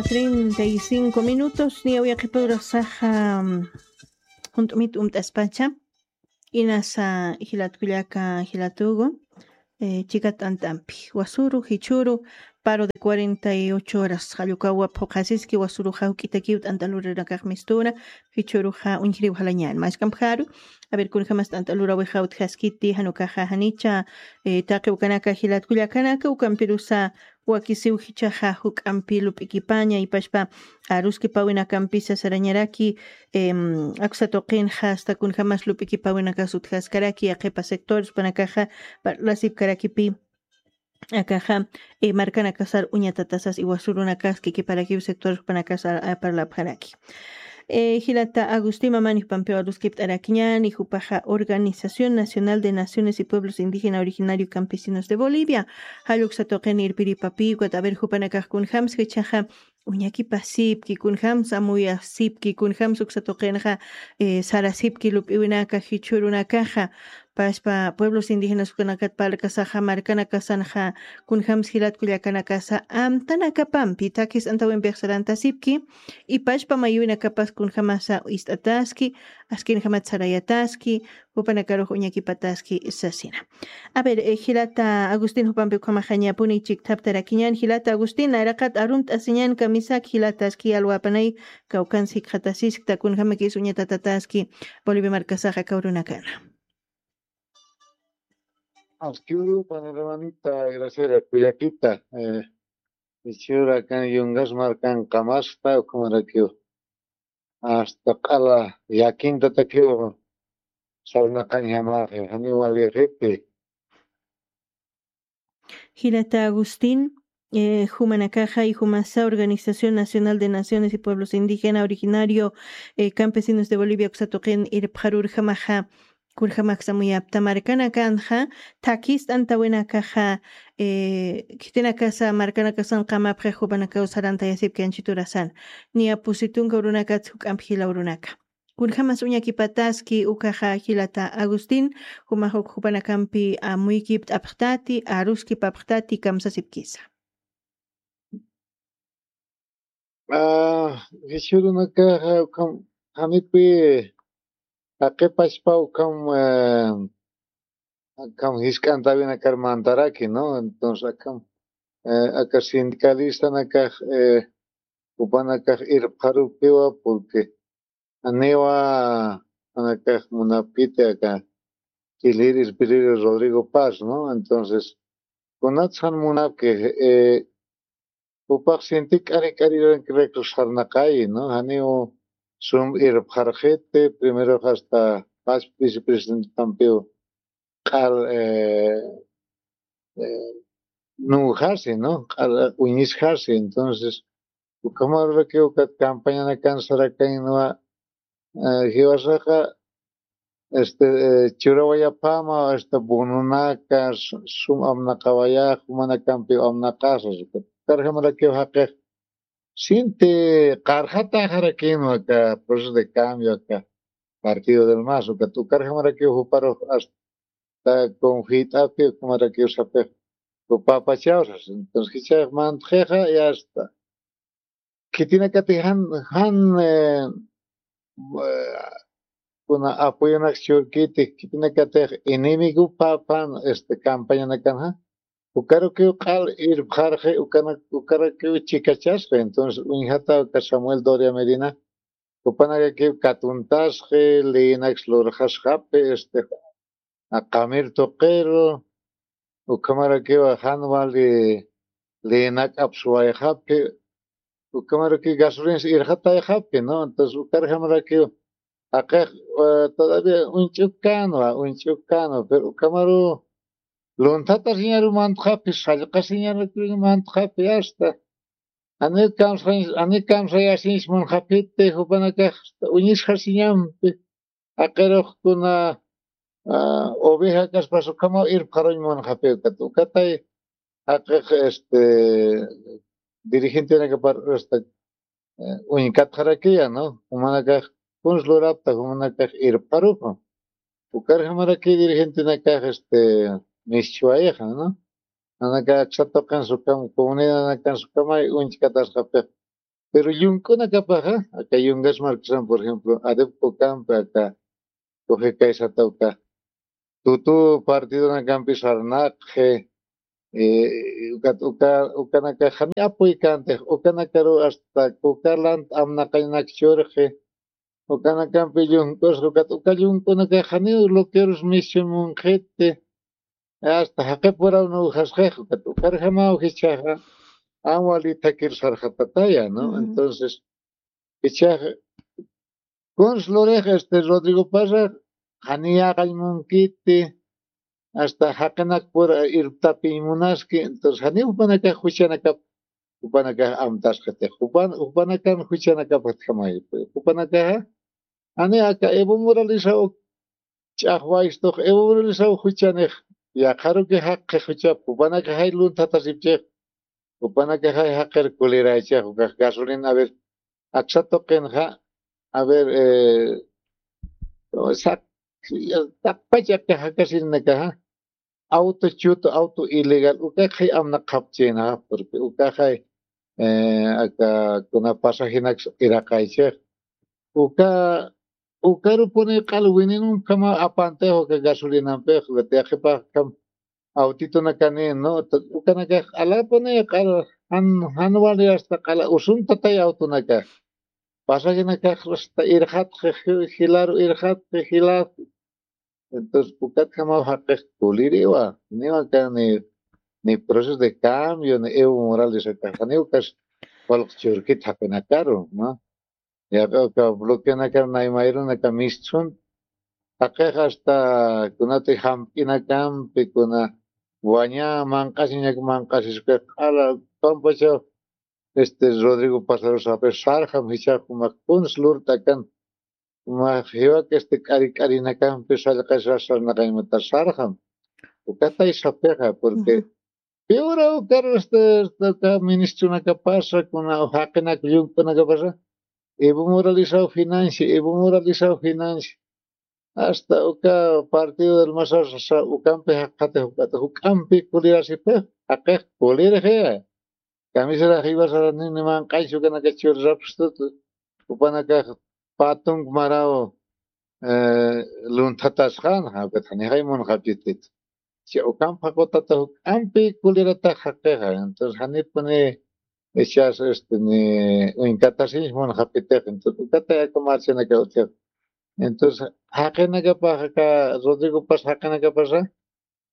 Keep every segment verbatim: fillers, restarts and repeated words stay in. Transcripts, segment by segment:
Treinta y cinco minutos, niya uyaqipurasaxa, mm, junt'umit umt'aspacha. Inasa jilatkullaka jilatugu, eh, chikat t'ant'ampi. Wasuru, jichuru, paro de cuarenta y ocho horas. Jallukawa phuqasiski wasuru jawk'itakiw t'ant'alurinakax mistura, jichuruxa uñjriw jalañan. Mashkampjaru, a ver, kunjamas t'ant'alurawi jawtjaskiti, janukaxa janicha, eh, taqi ukanaka jilatkullakanaka, ukampirusa wakisiw jichaxa juk'ampi lup'ikipaña, ipashpa aruskipawinakampisa sarañaraki, em, aksa tuqinxa hasta kunjamas lup'ikipawinakas utjaskaraki, yaqhipa sectores jupanakaxa parlasipkarakipi, akaxa, eh, markanakasar uñatatasas iwasurunakaski kiparakiw sectores jupanakasar, ah, parlapjaraki. Eh, jilata Agustín Mamani jupampiw aruskipt'arakiñani, jupaxa Organización Nacional de Naciones y Pueblos Indígena Originario Campesinos de Bolivia, jalluksa tuqin irpiripapiw, ukat a ver jupanakax kunjams jichaxa uñakipasipki, kunjams amuyasipki, kunjams uksa tuqinxa, eh, sarasipki lup'iwinaka, jichhürunakaxa, pashpa pueblos indígenas ukanakat parlkasaxa, markanakasanxa, kunjams jilatkullakanakasa amtanakapampi, takis antawimpix sarantasipki, ipashpa mayuwinakapas kunjamasa ist'ataski, askinjamat sarayataski, jupanakarux uñakipataski sasina. A ver, eh, jilata Agustín jupampi ukhamaxañapuni chikthaptarakiñan, jilata Agustín, nayraqat arumt'asiñan kamisak, jilataski alwapanay, kawkans jikxatasiskta, kunjamakis uñatatataski, Bolivia markasaxa kawrunakana. Askiru, panoramanita, gracias, kullakita, eh, ichura kan yungas markan qamasta, ukhamarakiw. Hasta q'ala yakintatakiw sarnaqañamaxi, janiw walixiti. Jilata Agustín, eh, jumanakaxa y jumasa Organización Nacional de Naciones y Pueblos Indígena Originario, eh, Campesinos de Bolivia, uksa tuqin irpxarurjamaxa, kurjamaksa amuyapta markanakanxa, takis t'antawinakaxa, eh, khitinakasa markanakasan qamapxi jupanakaw sarantayasipki anchiturasan. Niya pusi tunka urunakats juk'ampi jila urunaka. Kunjamas uñakipataski ukaxa jilata Agustín, jumax uk jupanakampi amuykipt'apxtati, aruskipapxtati, kamsasipkisa. Ah, jichhürunakaxa ukham, janipi jaqipachpa ukham, eh, akham jisk'antawinakar mantaraki, ¿no? Entonces, akham, eh, aka sindicalistanakax, eh, jupanakax irpxarupiwa, porque janiwa jupanakax munapkiti aka Chiliri Espiritu Rodrigo Paz, ¿no? Entonces, kunats jan munapki, eh, jupax sinti k'ari k'ari recursos sarnaqayi, ¿no? Janiw sum irpxarxiti, primero hasta Paz vicepresidentekampiw q'al, eh, eh, nuwjasi, ¿no? Q'al uñisjasi. Entonces, ukhamarurakiw ukat campañanakan sarakañanwa, eh, jiwasaxa, este, eh, churawayapama, este, bononaka, su-, sum amnaqawaya, jumanakampiw amnaqasa, ukat. Ukarjamarakiw jaqix, sinti qarxataxarakinwa aka proceso de cambio, aka Partido del MAS, ukat. Ukarjamarakiw juparux hasta ta conjuyt'api, ukhamarakiw sapix, jupapachawsas. Entonces, jichhax mantxixa, ya está. Khitinakatix jan, jan, eh, eh, kuna apoyonak churkiti, khitinakatix enemigo papan, este, campañanakanxa. Ukarukiw q'al irpxarxi, ukana-, ukarakiw chikachasxi. Entonces, uñjata uka Samuel Doria Medina, jupanakakiw katuntasxi, leyinaks lurxasxapi, este, a qamir tuqiru, ukhamarakiw jan wali leyinakap suwayxapi, ukhamarakiw gasolinas irxatayxapi, ¿no? Entonces, ukarjamarakiw, jaqix, eh, todavía uñch'ukkanwa, uñch'ukkanwa, pero ukhamaru lunthatasiñaru mantxapi, sallqasiñaru mantxapi, hasta. Janiw kamsa-, janiw kamsayasiñs munxapiti, jupanakax uñisxasiñampi. Jaqirux kuna, ah, oveja kaspas ukhamaw irpxaruñ munxapi, ukat. Ukatay jaqix, este, dirigentenakapar, este, eh, uñkatxarakiya, ¿no? Jumanakax kuns lurapta, jumanakax irpxarupa. Ukarjamaraki dirigentenakax, este, mischwayixa, ¿no? Nanaka aksa tuqin sukam, comunidadanakan sukamay uñchkatasxapix. Pero llunk'unakapaxa, aka yungas marksan, por ejemplo, adep ukampi aka, coge kaysata uka, tutu partidonakampi sarnaqxi, eh, ukat uka, ukanakax jani apuykantix, ukanakaru hasta kukalant amnaqañnak churxi, ukanakampi llunk'usxi, ukat uka llunk'unakax janiw loquerus mischun munqhiti, hasta jaqipuraw nuwjasxix, ukat ukarjamaw jichhaxa, am wali thakir sarxatataya, ¿no? Entonces, jichhaxa, kuns lurix, este, Rodrigo Parra, jani yaqañ munkiti, hasta jaqinakpur irptapiñ munaski, entonces, jani jupanakax juchanakap, jupanakax amtasqiti, jupan, jupanakan juchanakap jatjamay, jupanakaxa, jani aka Evo Moralesaw ch'axwaystux, Evo Moralesaw juchanix, yaqharuki jaqix juchap, jupanakaxay lunthatasipchix, jupanakaxay jaqir kuliraychix, ukax gasolina, a ver, aksa tuqinxa, a ver, eh, saq, taqpach aka jakasirinakaxa, auto chutu, auto ilegal, ukaxay amnaqapchinaxa, porque ukaxay, eh, aka kuna pasajenak iraqaychix, uka, ukarupuni q'al wininunkhama apantix uka gasolinampix, uka tiyaqipaxkam autitunakani, ¿no? Ukanakax q'alapuni q'al, jan, jan wali hasta q'ala usuntatay autonakax. Pasajenakax hasta irxatxi, jilaru irxatxi, jilat. Entonces, ukatjamaw jaqix kuliriwa. Niwa aka ni, ni proceso de cambio, ni Evo Morales akaxa, ni ukas walq churkit jaqinakaru, ¿no? Yaqha uka bloqueonakar naymayrunaka mistsun, jaqix hasta kunati jamp'inakampi, kuna waña manq'asiñak manq'asisukix q'ala, pampachaw, este, Rodrigo Pasaru sapix sarxam, jichhax jumax kuns lurt'akan, jumax jiwak, este, k'ari k'arinakampi sallqasas sarnaqañmatar sarxam. Ukatay sapixa, porque piwra ukar, este, este, uka ministronakapasa, kuna jaqinak llunk'unakapasa, Evo Moralesaw financi, Evo Moralesaw financi. Hasta uka partido del Masasa, ukampi jaqatix, ukata juk'ampi kulirasipix, jaqix kulirixi. Kamisarax jiwasarax ni, ni manq'añsa ukanaka churrapxtut, jupanakax patunk maraw, eh, lunthatasxan, ukat janixay munxapchitit. Cha ukamp jaqutata juk'ampi kuliratax jaqixa. Entonces, janipuni echas, este, ni uñkatasiñ munxapitix. Entonces, ukatay aka marchanaka utjix. Entonces, jaqinakapax aka Rodrigo Paz jaqinakapasa,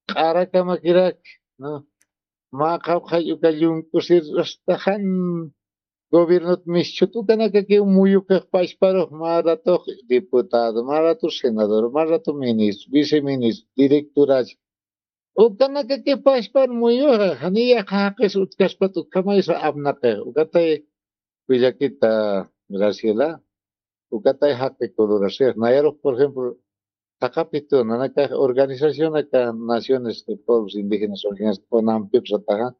q'arakamakirak, ¿no? Mä qhawqhay uka llunk'usir hasta jan gobiernot mischhut ukanakakiw muyupix pachparux, mä ratux diputado, mä ratux senador, mä ratux ministro, viceministro, directorach. Ukanakakiw pachpar muyuxa, janiya jaqis utjkaspat ukhamaysa apnaqix. Ukatay willakita Graciela, ukatay jaqi kulurasix. Nayarux, por ejemplo, taqapitu nanakax organización aka Naciones de Pueblos Indígenas Originarios, UNAMPIP sataxa,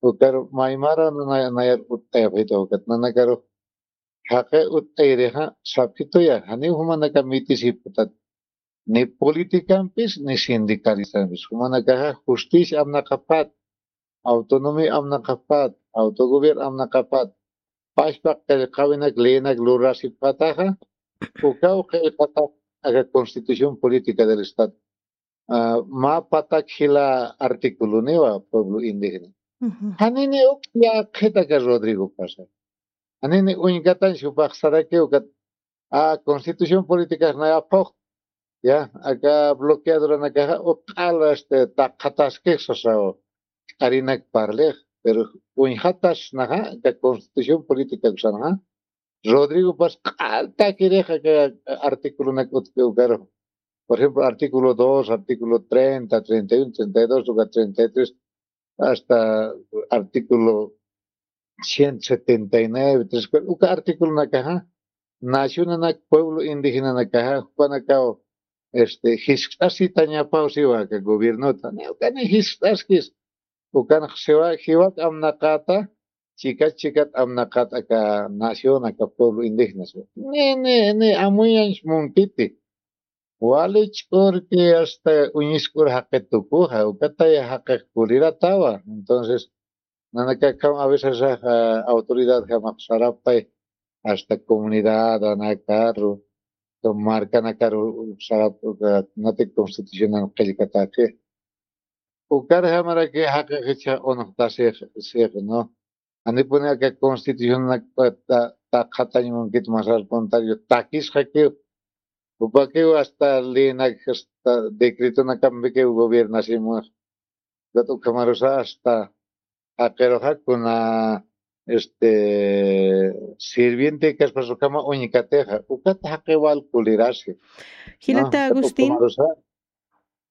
ukar maymara nana-, nayar utt'ayapxita ukat nanakarux jaqi utt'ayirixa sapxituya, janiw jumanaka mitisipxtat, ni politicampis ni sindicalistampis, jumanakaxa justicia apnaqapat, autonomía amnaqapat, autogobierno amnaqapat, pachpa qillqawinak leynak lurasipxataxa, ukaw qillqatax aka Constitución Política del Estado. Ah, mä patak jila articuloniwa pueblo indígena. Janini uk yaqhit aka Rodrigo Pasa. Janini uñkatañ jupax saraki ukat, ah, Constitución Política nay apux, ya, aka bloqueadoranakaxa utq'al, este, taqataskix sasaw, k'arinak parlix, pero uñjatasnaxa, aka Constitución Política usanxa, Rodrigo Paz q'altakirix aka articulonak utki ukaru. Por ejemplo, artículo dos, artículo treinta, treinta y uno, treinta y dos, uka treinta y tres, hasta artículo ciento setenta y nueve, tres, uka articulonakaxa, nacionanak, pueblo indígenanakaxa, jupanakaw, este, jiskt'asitañapaw siwa aka gobiernota. Ni ukani jiskt'askis, ukanx siwa, jiwak amnaqata, chikat, chikat amnaqat aka nación, aka pueblo indígena siwa. Ni, ni, ni amuyañs munkiti. Wali ch'urki hasta uñisk'ur jaqi tukuxa, ukatay jaqix kuliratawa. Entonces, Nanakakham a veces, ah, autoridad jamax sarapay, hasta comunidad anakaru, markanakaru sarap, ah, natik constitucionan qillkataki. Ukar jamaraki jaqiqicha unuqtasix, six, ¿no? Janipuni aka constitucionanak ta, ta qhatañ munkit masar puntario takisqakiw. Jupakiw hasta leynak, hasta decretonakampikiw gobiernasimunax. Ukat ukhamarusa hasta jaqiruxa kuna, este, sirviente kaspas ukhama uñkatixa. Ukat jaqiw wal kulirasi. Jilata, ¿no? Ukat Agustín. Ukhamarusa.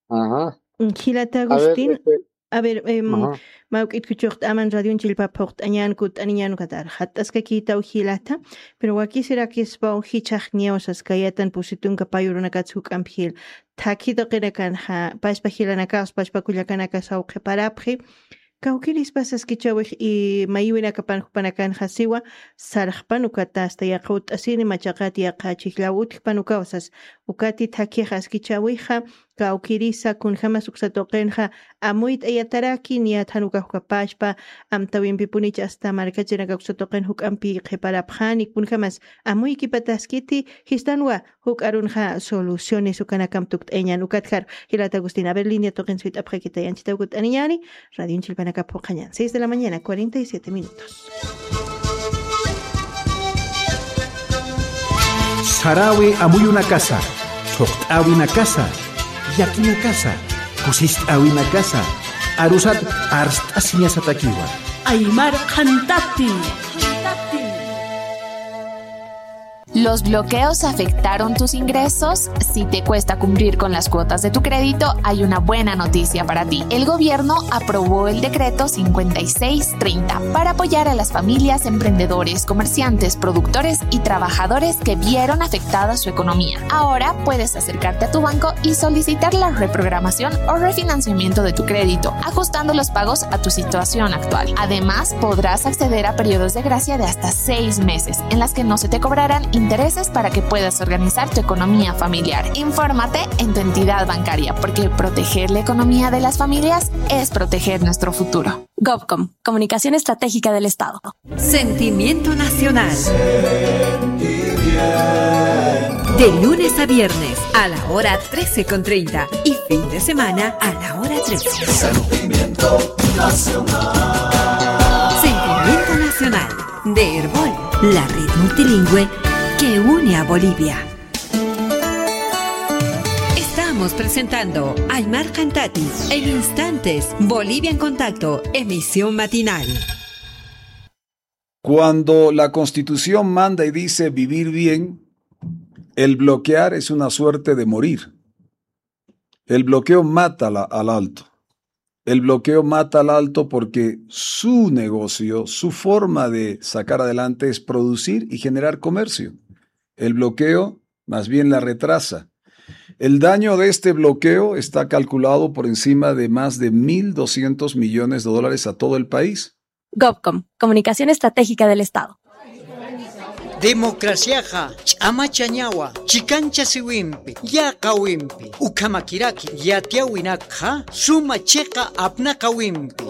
Ajá. Jilata, a ver, Agustín. Este, a ver, em, ajá, mawk'it kuchuqt'aman radion chillpa phuqt'añan kutt'aniñan ukatar. Jatt'askakïtaw jilata, pero wakisirakispaw jichhax niyaw saskayatan pusi tunka pay urunakats juk'amp jil. Thakhi tuqinakanxa, paspa jilanakax, paspa kullakanakas awqhiparapxi. Kawkirispas saskichäwix y mayiwinakapan jupanakanxa siwa, sarxpan ukata hasta yaqha utt'asini machaqat yaqha chhijllaw utjpan ukaw sas. Ukati thakhixa saskichäwixa, kawkirisa kunjämas uksa tuqinxa amuyt'ayataraki, niyat jan ukax uka paspa amtäwimpipunicha hasta markachirinaka uksa tuqin juk'ampi qhiparapxani, kunjämas amuykipataskiti, jistanwa juk'arunxa soluciones ukanakamp tukt'ayañan. Ukatjar, jilata Agustín, a ver, línea tuqin suyt'apxakita, yanchhitaw kutt'aniñäni, radion chillpanakap phuqhañan, seis de la mañana, cuarenta y siete minutos. Saräwi amuyunakasa, thuqt'äwinakasa, llakinakasa, kusist'äwinakasa, arusat arst'asiñasatakiwa. Aymar qhantatin. ¿Los bloqueos afectaron tus ingresos? Si te cuesta cumplir con las cuotas de tu crédito, hay una buena noticia para ti. El gobierno aprobó el decreto cincuenta y seis treinta para apoyar a las familias, emprendedores, comerciantes, productores y trabajadores que vieron afectada su economía. Ahora puedes acercarte a tu banco y solicitar la reprogramación o refinanciamiento de tu crédito, ajustando los pagos a tu situación actual. Además, podrás acceder a periodos de gracia de hasta seis meses, en las que no se te cobrarán intereses, para que puedas organizar tu economía familiar. Infórmate en tu entidad bancaria, porque proteger la economía de las familias es proteger nuestro futuro. Gobcom, Comunicación Estratégica del Estado. Sentimiento Nacional. De lunes a viernes a la hora trece con treinta y fin de semana a la hora trece. Sentimiento Nacional. Sentimiento Nacional de Erbol, la red multilingüe que une a Bolivia. Estamos presentando Aymar Qhantati. En instantes, Bolivia en Contacto, emisión matinal. Cuando la Constitución manda y dice vivir bien, el bloquear es una suerte de morir. El bloqueo mata la, al Alto. El bloqueo mata al Alto porque su negocio, su forma de sacar adelante es producir y generar comercio. El bloqueo más bien la retrasa. El daño de este bloqueo está calculado por encima de más de mil doscientos millones de dólares a todo el país. Gobcom, Comunicación Estratégica del Estado. Democraciaxa ch'amachañawa, chikanchasiwimpi, yäqawimpi, ukhamakiraki yatiyäwinakxa suma chiqa apnaqawimpi.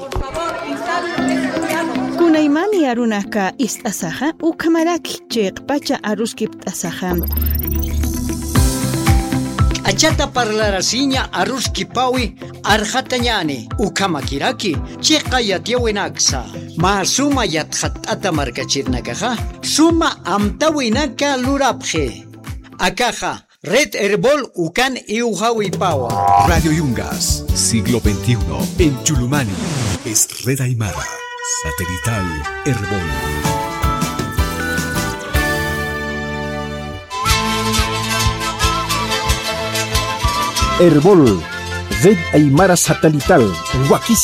Kunaymani arunaka ist'asaxa, ukhamaraki chiqpacha aruskipt'asaxa. K'achata parlarasiña aruskipäwi arxatañäni, ukhamakiraki chiqa yatiyäwinaksa, mä suma yatxatt'ata markachirinakaxa suma amtäwinaka lurapxi. Akaxa Red Erbol ukan iwjawipawa. Radio Yungas, siglo veintiuno, en Chulumani, es Red Aymara, satelital Erbol. Erbol, Red Aymara Satelital, wakis